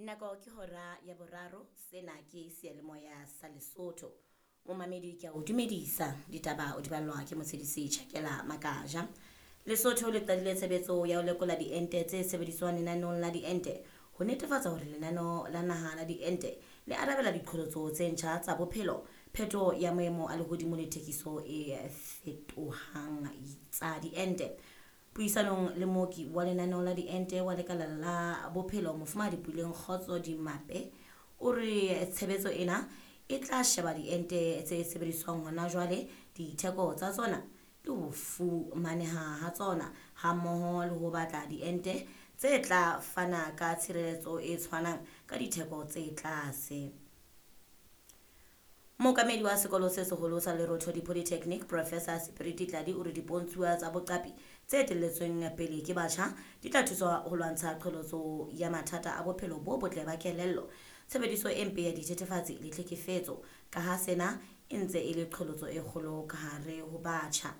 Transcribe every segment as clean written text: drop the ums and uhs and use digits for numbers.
Nako ke hora ya boraro, sena ke seyalemoya sa Lesotho. Momamedi ke a o dumedisa, ditaba o di ballwa ke motshedisi Tjhakela Makaja. Lesotho le qadile tshebetso ya ho lekola diente tse sebediswang lenaneong la diente ho netefatsa hore lenaneo la naha la diente le arabela diqholotso tse ntjha tsa bophelo, phetoho ya maemo a lehodimo le thekiso e fetohang tsa diente. Puisanong le mooki wa lenaneo la diente wa lekala la bophelo Mofumahadi Puleng Kgotso Dimape o re tshebetso ena e tla sheba diente tse sebediswang hona jwale, ditheko tsa tsona le ho fumaneha ha tsona hammoho le ho batla diente tse tla fana ka tshireletso e tshwanang ka ditheko tse tlase. Mookamedi wa sekolo se seholo sa Lerothodi Polytechnic, Professor Sepiriti Tladi o re dipontshuwa tsa boqapi tse etelletsweng pele ke batjha di tla thusa ho lwantsha qholotso ya mathata a bophelo bo botle ba kelello, tshebediso e mpe ya dithethefatsi le tlhekefetso, ka ha sena e ntse e le qholotso e kgolo ka hare ho batjha.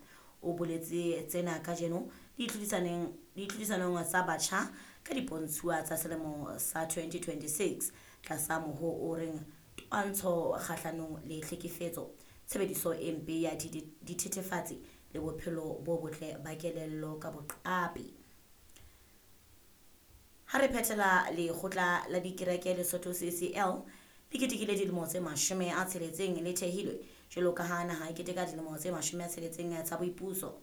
O boletse tsena kajeno ditlhodisanong tsa batjha ka dipontshuwa tsa selemo sa 2026 tlasa moho o reng twantsho kgahlanong le tlhekefetso, tshebediso e mpe ya dithethefatsi le bophelo bo botle ba kelello ka boqapi. Ha re phethela lekgotla la dikereke Lesotho CCL le ketekile dilemo tse 60 le thehilwe jwalo ka ha naha e keteka dilemo tse 60 tsa boipuso.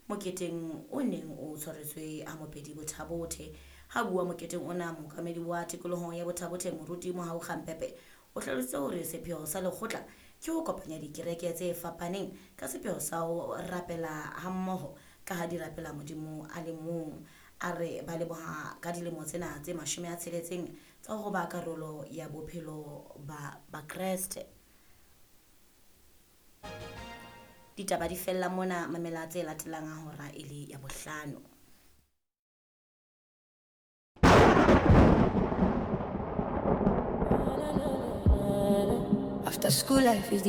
Moketeng o neng o tshwaretswe ha Mopedi Bothabothe. Ha bua moketeng ona, mookamedi wa tikoloho ya Bothabothe Moruti Mohau Kgampepe o hlalositse hore sepheo sa lekgotla ke ho kopanya dikereke tse fapaneng ka sepheo sa ho rapela hammoho ka ha di rapela Modimo a le mong. A re ba leboha ka dilemo tsena tse 60 tsa ho ba karolo ya bophelo ba Bakreste. Ditaba di fella mona, mamela tse latelang ha hora e le ya bohlano. After school life is the